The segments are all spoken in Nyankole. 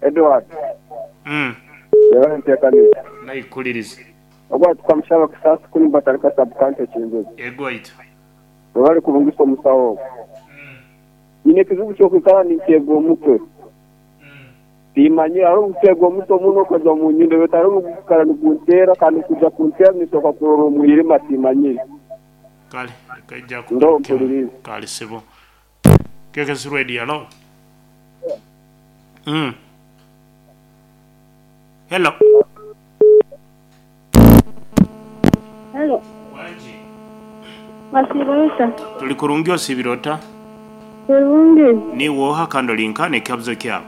Edward. Mm. Yebare enteekaniza. Naikuliriza. Ogu ati Kamushaba Kisaasi kunu Batalika Sub-County Kinjuzi. Ego waitu. Webale kurungisa omusaho ogu. Nyine ekizibu ky'okwikara ninteega omutwe. Tiimanyire hariho obukuteega omutwe muno okaza omu nyindo beitu hariho obugukwikara niguntera kandi kwija kuntera ninsooka kurora omwirima tiimanyire. Kale leka aije Ndo akugarukemu. mpulirize. Kale sebo. KKC Radio, hello. Mm. Hello. Hello. Wangi. Wasiiba ota? Tuli kurungi osiibire ota? Kurungi. Niiwe oha kandi oli nka n'ekikabuzo kyawe?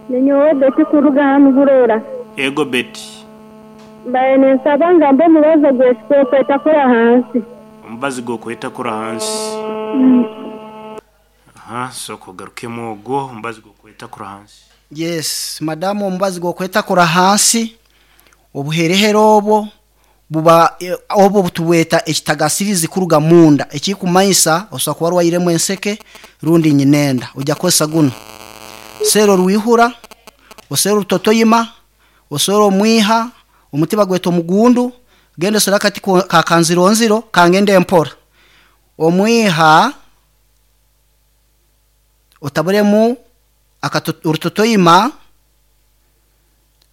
Ninyowe Betty kuruga hanu Burora. Ego Betty. Mbaire ninsaba ngambe omubazi ogw'ekikooka hansi. Omubazi gw'okwetakura hansi. Aha, sooka ogarukemu ogwo omubazi gw'okwetakura hansi. Yes, madamu omubazi gw'okwetakura hansi obuherehere obwo buba eh, obwo butubweta ekitagasirizi kuruga munda ekikumanyisa osobola kuba orwairemu enseke rundi nyinenda ojya kukozesa guno seera orwihura oseere orutotoyima oseere omwiha omuti bagweta omugundu genda osere akati ko- ka kanzironziro kangende empora omwiha otaburemu akato- orutotoyima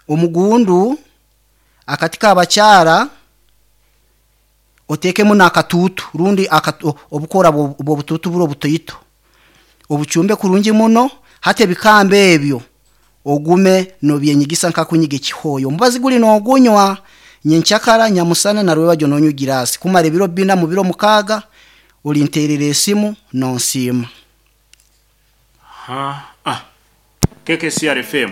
omugundu akati kabakyara otekemu n'akatuutu rundi akatu- obukora bw'obutuutu buri obutoito obucumbe kurungi muno hati ebikamba ebyo ogume nobyenyigisa nkakunyiga ekihooyo omubazi guri nogunywa nyenkyakara nyamusana na rwebagyo nonywa egirasi kumara ebiro bina mu biro mukaaga olinterera esimu nonsiima. Aha. Ah. KKCR FM.